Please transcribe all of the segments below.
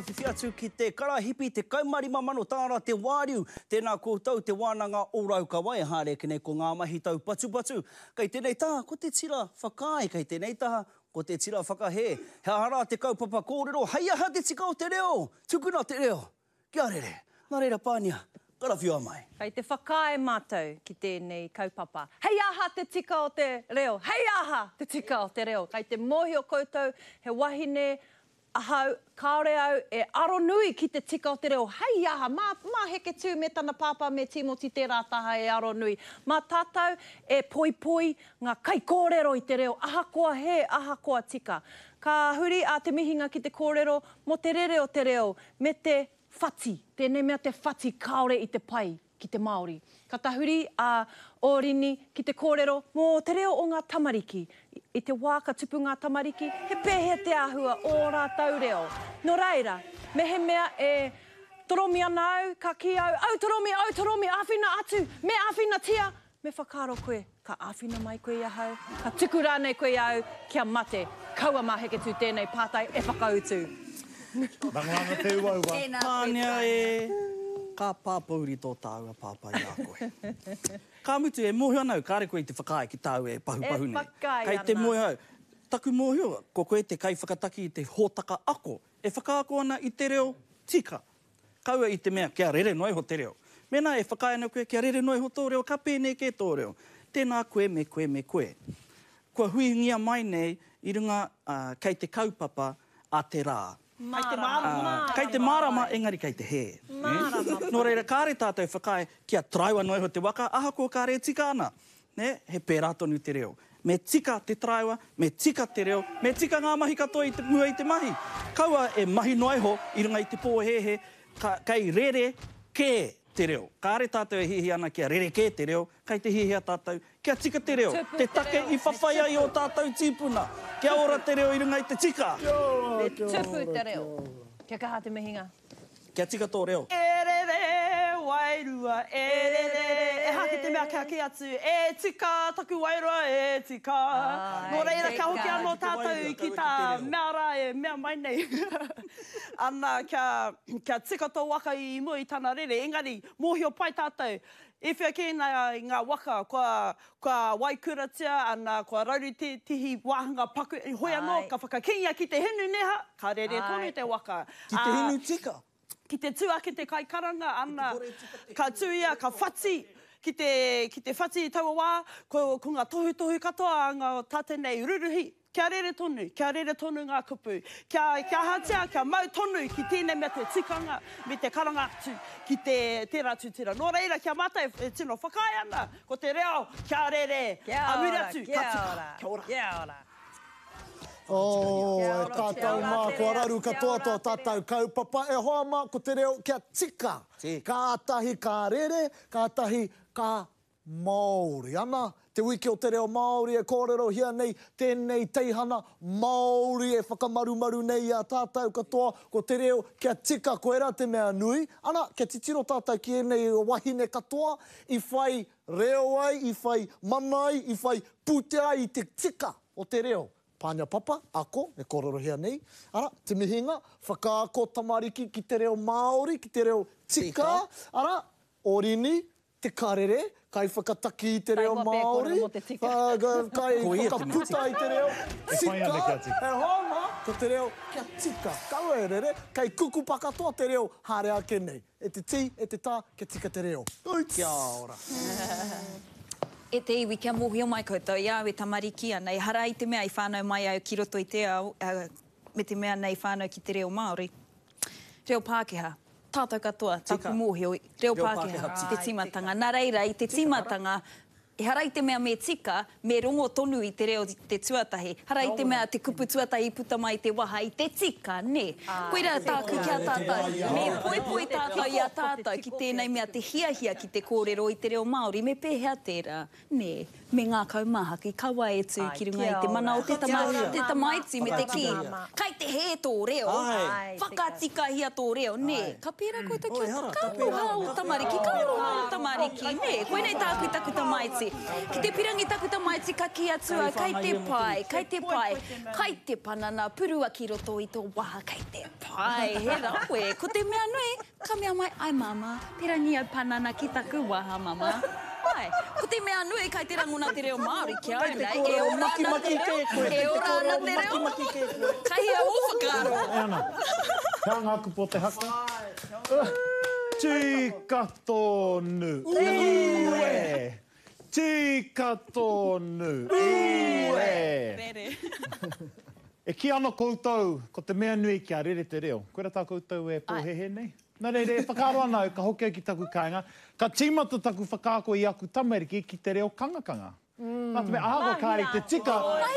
Whiwhi atu ki te karahipi 15 mano tāra te wāriu. Tēnā koutou Te Wānanga o Raukawa e haere ake nei ko ngā mahi taupatupatu. Kei tēnei taha ko te tira whakaae, kei tēnei taha ko te tira whakahē. He aha rā te kaupapa kōrero, hei aha te tika o te reo? Tukuna te reo kia rere. Nā reira Pānia, karawhiua mai. Kei te whakaae mātou ki tēnei kaupapa. Hei aha te tika o te reo? Hei aha te tika o te reo? Kei te mōhio koutou he wahine Ahau, kāore au e aronui ki te tika o te reo, hei aha, mā, mā Heketū me tana pāpā me Tīmoti tērā taha e aronui. Mā tātou e poipoi ngā kaikōrero i te reo, ahakoa hē, ahakoa tika. Ka huri a Te Mihinga ki te kōrero mō te rere o te reo me te whati, tēnei mea te whati kāore i te pai ki te Māori. Ka tahuri a Ōrini ki te kōrero mō te reo o ngā tamariki. I te wā ka tupu ngā tamariki, he pēhea te āhua o ō rātou reo? Nō reira, mehemea e toromi ana au, ka kī au, Au toromi, au toromi, āwhina atu, me āwhinatia! Me whakaaro koe, ka āwhina mai koe i ahau, ka tuku rānei koe i a au kia mate. Kaua mā Heketū tēnei pātai e whakautu. Rangona ana te uaua. Tēnā koe Pānia Pānia. e, ka pāpōuri tō tāua pāpā i a koe. Ka mutu, e mōhio ana au, kāre koe i te whakaae ki tāu e pahupahu E nei. whakaae Kei te ana. mōhio au. Taku mōhio, ko koe te kaiwhakataki i te hōtaka ako e whakaako ana i te reo tika. Kaua i te mea kia rere noa iho te reo. Mēnā e whakaae ana koe kia rere noa iho tō reo, ka pēnei kē tō reo. Tēnā koe me koe me koe. Kua huingia mai nei i runga kei te kaupapa a te rā. Kei te mārama. Kei te mārama engari kei te hē. Nō reira kāre tātou e whakaae kia taraiwa noa iho te waka ahakoa kāre e tika ana. Nē, he pērā tonu te reo. Me tika te taraiwa, me tika te reo, me tika ngā mahi katoa i te, mua i te mahi. Kaua e mahi noa iho i runga i te pōhēhē, ka, kei rere kē te reo. Kāre tātou e hiahia ana kia rerekē te reo, kei te hiahia tātou kia tika te reo, Tupu te te take reo, i me whawhai ai tupu. ō tātou tīpuna. Kia ora te reo i runga i te tika. Kia ora, Me kia tupu ora, te kia reo. ora. Kia kaha te mihinga. Kia tika tō reo. E rere wairua, e rere, ehake te mea kia kī atu, e tika taku wairua, e tika. Nō reira, kia hoki anō tātou ki tā mea rā e mea mai nei. Ana, kia, kia tika tō waka i mua i tana rere, engari, mōhio pai tātou, i whea kē ngā waka kua, kua waikuratia, ana, kua rauru tētehi wāhanga paku, hoi anō, ka whakakīngia ki te hinu neha, ka rere tonu te waka. Ki te hinu tika. Ki te tū ake te kaikaranga, ana, ka tū ia, ka whati, ki te, ki te whati i taua wā, ko, ko ngā tohutohu katoa a ngā tātou nei ruruhi, Kia rere tonu, kia rere tonu ngā kupu. Kia, kia ahatia, kia mau tonu ki tēnei mea te tikanga me te karanga atu ki te, tērā tūtira. Nō reira, ki a mātou e tino whakaae ana, ko te reo, kia rere, Kia a muri ora, atu, kia ka tika. ora, Kia ora. kia ora. Oh, Kia e ora, kia tātou ora mā, te kua reo, raru kia katoa ora tō te reo. tātou kaupapa. E hoa mā, ko te reo kia tika. Kātahi ka rere, kātahi ka Māori. Ana, Te Wiki o Te Reo Māori e kōrerohia nei tēnei teihana Māori e whakamarumaru nei i a tātou katoa, ko te reo kia tika koirā te mea nui. Ana, kia titiro tātou ki ēnei wahine katoa i whai reo ai, i whai mana ai, i whai pūtea ai i te tika o te reo. Pānia Papa, ako, e kōrerohia nei, ara, te mihinga, whakaako tamariki ki te reo Māori, ki te reo tika, ara, Orini, Te Karere, kaiwhakataki i te reo Māori, kaiwhakaputa i te reo tika, e hoa mā, ko te reo kia tika, kaua e rere, kei kukupa katoa te reo haere ake nei. E te tī, e te tā, kia tika te reo. Kia ora. E te iwi, kia mōhio mai koutou, i a au e tamariki ana, ehara i te mea i whānau mai au ki roto i te ao, me te mea nei whānau ki te reo Māori. Reo Pākehā. Tātou katoa, taku mōhio, reo Pākehā te tīmatanga. Nā reira, i te tīmatanga, ehara i te mea me tika, me rongo tonu i te reo te tuatahi. Ehara i te mea te kupu tuatahi i puta mai i te waha i te tika, nē. Koirā tāku ki a tātou, me poipoi tātou i a tātou ki tēnei mea te hiahia ki te kōrero i te reo Māori, me pēhea tērā? Nē, me ngākau māhaki, kaua e tū ki runga i te mana o te tama, te tamaiti me te kī, kai te hē tō reo, whakatikahia tō reo, nē. Ka pērā koutou ki a, ka aroha ō tamariki, ka aroha ō tamariki, nē. Koinei tāku i taku tamaiti. Ki te pirangi taku tamaiti ka kī atu au, kei te pai, kei te pai, kai te panana, purua ki roto i tō waha, kei te pai, he rawe. Ko te mea nui, ka mea mai, ai māmā, pirangi au panana ki taku waha, mama. Ai, ko te mea nui, kai te rangona te reo Māori ki a au nei, e ora ana te reo, e ora ana te reo, kai hea ō whakaaro? E ana, he aha ngā kupu o te haka? Tika tonu! Ue! Tika tonu! Ue! E kī ana koutou, ko te mea nui kia rere te reo. Koira tā koutou e pōhēhē nei? Nā reira, e whakaaro ana au, ka hoki au ki taku kāinga, ka tīmata taku whakaako i aku tamariki ki te reo kangakanga. Nā te mea, ahakoa kāre i te tika,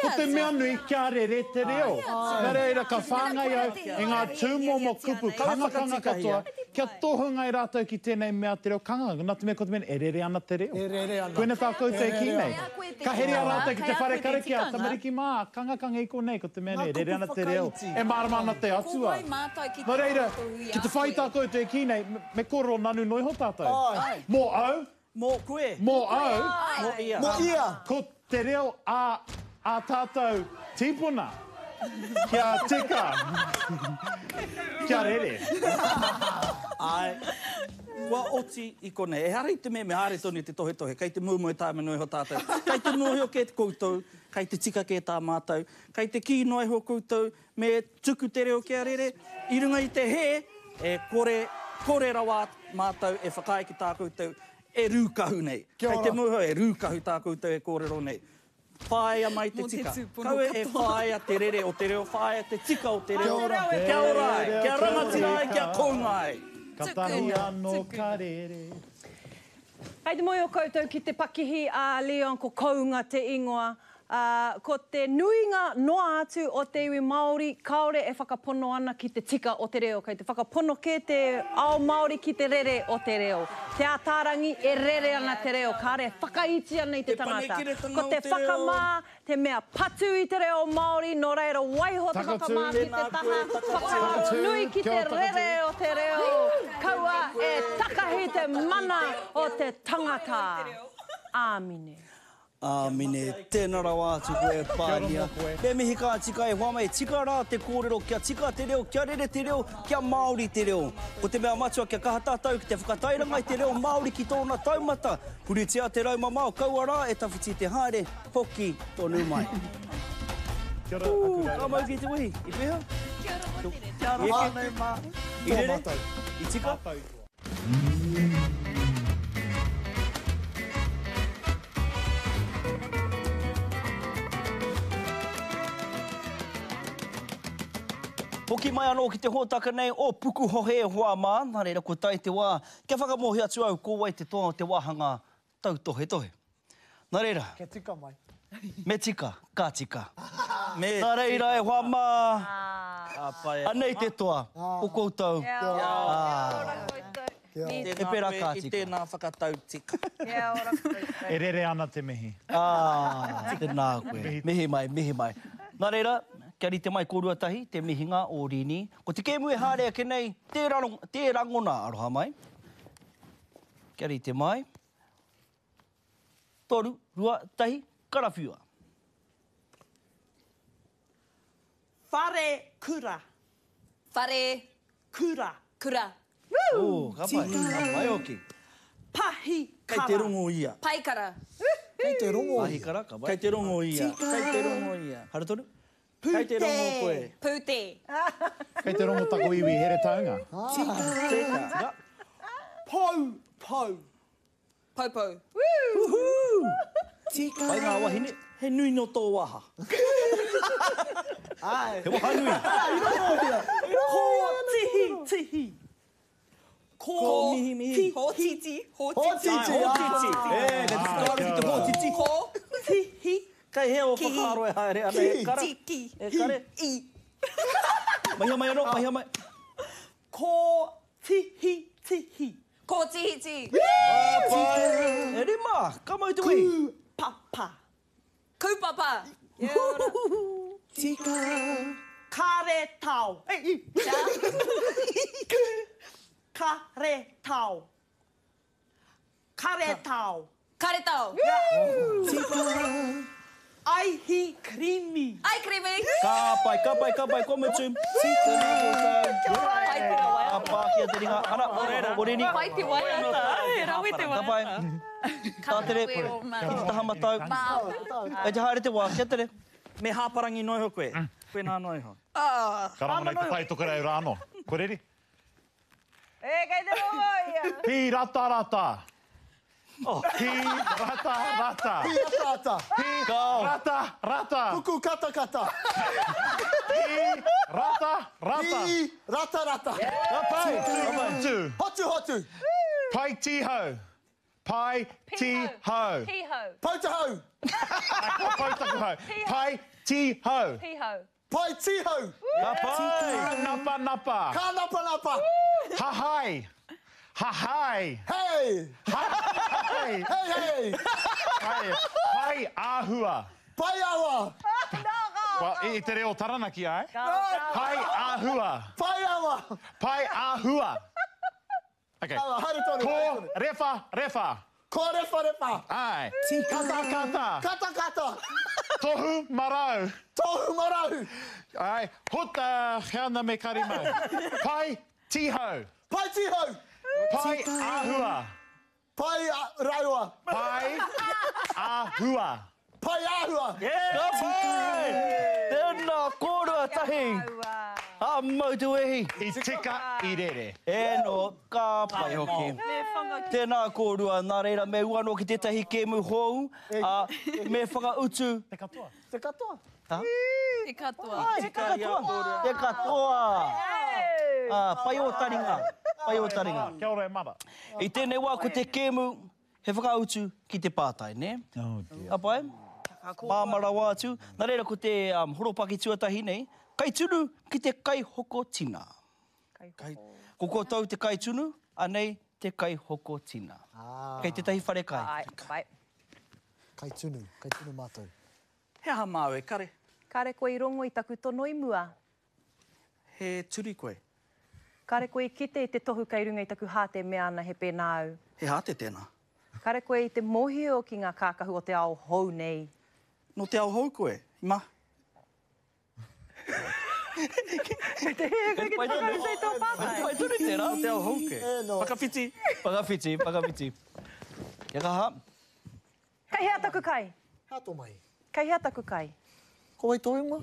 ko te mea nui kia rere te reo. Nā reira, ka whāngai au i ngā tūmomo kupu kangakanga katoa, kia tohunga ai rātou ki tēnei mea te reo kangakanga. Nā te mea, ko te mea, e rere ana te reo. Koina tā koutou e kī nei. Ka heria rātou ki te whare karakia, tamariki mā, kangakanga i konei, ko te mea nei, rere ana te reo, e mārama ana te Atua. Nō reira, ki te whai tā koutou e kī nei, me kōrero nanu noa iho tātou. Mō au. Mō koe. Mō au. Mō ia. Mō ia. Ko te reo a ā tātou tīpuna. Kia tika. Kia rere. Āe. Kua oti i konei. Ehara i te mea me haere tonu te tohetohe, kei te moemoe tāima noa iho tātou. Kei te mōhio kē koutou, kei te tika kē tā mātou, kei te kī noa iho koutou me tuku te reo kia rere, i runga i te hē, e kore, kore rawa mātou e whakaae ki tā koutou e rūkahu nei. Kei te mōhio e rūkahu tā koutou e kōrero nei. Whāia mai te tika. Kaua e whāia te rere o te reo, whāia te tika o te reo. Kia ora ai, kia rangatira ai, kia kounga ai. Katahi ano ka rere. Kei te moe o koutou ki te pakihi a Leon ko Kounga te ingoa. Ā, ko te nuinga noa atu o te iwi Māori kāore e whakapono ana ki te tika o te reo. Kei te whakapono kē te ao Māori ki te rere o te reo. Te Ātaarangi e rere ana te reo, kāore e whakaiti ana i te tangata. Ko te whakamā te mea patu i te reo Māori, nō reira waiho te whakamā ki te taha, whakaaro nui ki te rere o te reo, kaua e takahi te mana o te tangata. Āmine. Āmine, tēnā rawa atu koe e Pānia. Me mihi ka tika e hoa mai, tika rā te kōrero kia tika te reo, kia rere te reo, kia Māori te reo. Ko te mea matua kia kaha tātou ki te whakatairanga i te reo Māori ki tōna taumata. Puritia te rau mamao, kaua rā e tawhiti te haere, hoki tonu mai. Kia ora, aku rau. Ka mau ki te wehi, i pēhea? Kia ora Hotere. Kia ora whānau mā. I rere? I tika? Hoki mai anō ki te hōtaka nei o Pukuhohe e hoa mā, nā reira kua tae te wā kia whakamōhio atu au ko wai te toa o te wāhanga tautohetohe. Nā reira. Kia tika mai. Me tika, ka tika. Me Nā reira e hoa mā, Ka pai e hoa anei te toa o koutou. Kia ora koutou. He pērā ka I tika. tēnā whakatau tika. Kia ora koutou. E rere ana te mihi. Ah, tēnā koe. Mihi mai, mihi mai. Nā reira, kia rite mai kōrua tahi te mihinga o Rini. Ko te kēmu e haere ake nei, tē rangona aroha mai. Kia rite mai. Toru, rua, tahi, karawhiua. Whare kura. Whare. Kura. Kura. Ooh, ka pai, ka pai hoki. Pahi Kei te rongo ia. Paikara. Kei te rongo ia. Pahikara, ka pai. Kei te rongo ia. Kei te rongo ia. Haere tonu. Kei te rongo koe. Pūte. Kei te rongo taku iwi Heretaunga. Tika. Pou, pou. Poupou. Tika. Pai ngā wahine. He nui no tō waha. Ai. He waha nui. Ko tihi tihi. Ko mihi mihi. Hōtiti. Hōtiti. Hōtiti. E, kei te whakaaro ki te hōtiti. Ko. Tihi. Kei hea o whakaaro e haere ana e kara? Tiki. E kare? I. Mahia mai anō, mahia mai. Ko tihi tihi. Kōtihiti. E rima, ka mau te wehi. Kūpapa. Kūpapa. Tika. Karetao. Karetao. Karetao. Karetao. Tika. Aihi krimi. Ai krimi. Ka pai, ka pai, ka pai, kua mutu. Tēnā koutou. Pai te waiata. Ka pākia te ringa. Ana, Orini. Pai te waiata. He rawe te Ka pai. Tātere, ki te taha matau. Kei te haere te wā, kia tere. Me hāparangi noa iho koe. Koinā noa iho. Ka rangona i te tai tokerau rā anō. Kua reri? E, kei te rongo ia. Pīratarata. Pīratarata. Pīataata. Pīratarata. Puku katakata. Pīratarata. Pīratarata. Ka pai. Hotu. Hotu hotu. Pai tihau. Pai tihau. Pihau. Poutahau. Kua pau taku hau. Pai tihau. Pihau. Pai tihau. Ka pai. Ka napanapa. Ka napanapa. Hahai. Hahai. Hei. Hahai. Hei hei. Pai, pai āhua. Pai awa. Well, i te reo Taranaki, ai? Pai āhua. Pai awa. Pai āhua. Okay. Haere tonu. Ko rewha rewha. Ko rewha rewha. Ae. Kata kata. Kata kata. Tohu marau. Tohu marau. Ae. Huta heana me karimau. Pai tihau. Pai tihau. Pai ahua. Pai raua. Pai ahua. Pai āhua! Ka pai! Tēnā kōrua tahi! Ka mau te wehi! I tika, i rere. E no, ka pai hoki. Tēnā kōrua, nā reira me ū anō ki tētahi kēmu hou, ā, me whakautu. Te katoa. Te katoa. Ha? Te katoa. Te katoa. Te katoa. Ā, pai ō taringa. Pai ō taringa. Kia ora e mara. I tēnei wā ko te kēmu He whakautu ki te pātai, nē? Oh dear. Ka pai? Māmā rawa atu. Nā reira, ko te horopaki tuatahi nei, kaitunu ki te kaihoko tina. Ko koutou te kaitunu, anei te kaihoko tina. Kei tētahi wharekai. Āe, ka pai. Kaitunu, kaitunu mātou. He aha māu e kare? Kare koe i rongo i taku tono i mua. He turi koe. Kare koe i kite i te tohu kei runga i taku hāte e mea ana he pēnā au. He hāte tēnā. Kare koe i te mōhio ki ngā kākahu o te ao hou nei. Nō te ao hou koe, i ma. Kei te hē koe ki te whakautu i tō pātai. Pai tonu tērā. Nō te ao hou koe. Whakawhiti. Whakawhiti, whakawhiti. Kia kaha. Kei hea taku kai? Hea tō mahi? Kei hea taku kai? Ko wai tō ingoa?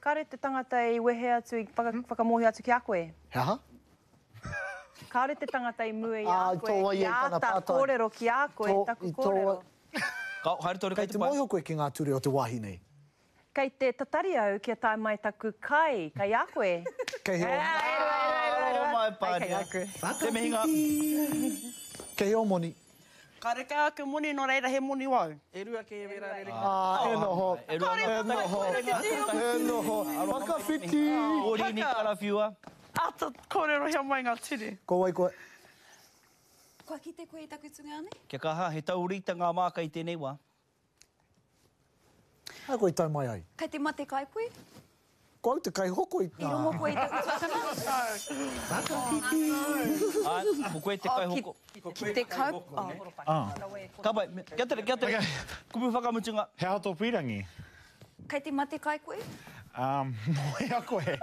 Kāre te tangata i wehe atu, i whakamōhio atu ki a koe. He aha? Kāore te tangata i mua i a koe, i āta kōrero ki a koe taku kōrero. Ka haere tonu kei te pai. Kei te mōhio koe ki ngā ture o te wāhi nei? Kei te tatari au kia tae mai taku kai, kei a koe. Kei hea o. Aro mai Pānia. Te mihinga. Kei hea o moni? Karekau ake moni, no reira he moni wau. E rua ke wera rere. Ah, e noho, e noho, e noho, whakawhiti. Orini karawhiua. Ata korerohia mai nga ture. Ko wai koe? Kua kite koe i taku tungāne? Kia kaha, he taurite ngā māka i tēnei wā. Hea koe i tau mai ai? Kei te mate kai koe? Ko au te kaihoko i. I rongo koe i taku tuakana? Āe, ko koe te kaihoko. Ki te kau. Ka pai, kia tere, kia tere. Kupu whakamutunga. He aha tō pīrangi? Kei te mate kai koe? Um, nō hea koe?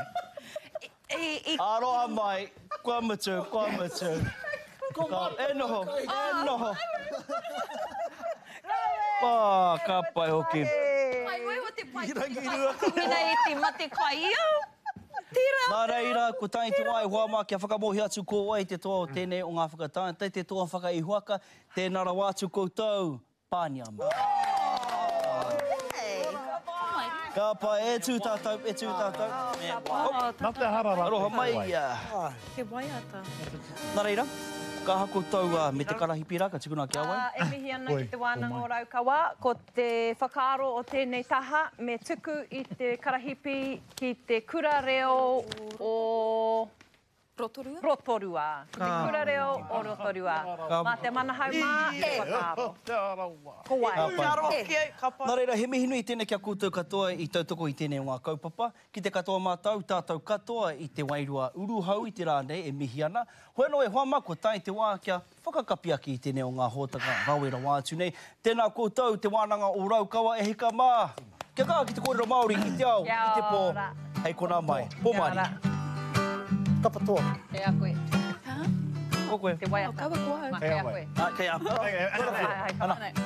I. Aroha mai, kua mutu, kua mutu. E noho, e noho. Oh, ka pai hoki. Pai wai o te pai. Mina e te mate kai ia. Tera. Nā reira, ko tae te wā e hoa mā kia whakamōhio atu ko wai te toa o tēnei o ngā whakataetae, te toa whakaihuwaka, tēnā rawa atu koutou, Pānia mā. Ka pai, e tū tātou, e tū tātou. Nā te hara rā. Aroha mai. He waiata. Nā reira, ka aha koutou me te karahipi rā, ka tukuna ki a wai? E mihi ana ki Te Wānanga o Raukawa, ko te whakaaro o tēnei taha, me tuku i te karahipi ki te kura reo o. Rotorua? Rotorua. Ki te kura reo o Rotorua. Mā te Manahau mā e whakaaro. Ko wai? Ka pai. Nā reira, he mihi nui tēnei ki a koutou katoa i tautoko i tēnei o ngā kaupapa. Ki te katoa mātou, tātou katoa i te wairua uruhau i te rā nei e mihi ana. Hoi anō e hoa mā, kua tae te wā kia whakakapi ake i tēnei o ngā hōtaka rawe rawa atu nei. Tēnā koutou, Te Wānanga o Raukawa e hika mā! Kia kaha ki te kōrero Māori i te ao, i te pō, hei konā mai. Pō mārire. Kapa toa. Kei a koe. Ko koe. Te waiata. Oh, kaua ko au. Kei a koe. Kei a koe. Ana.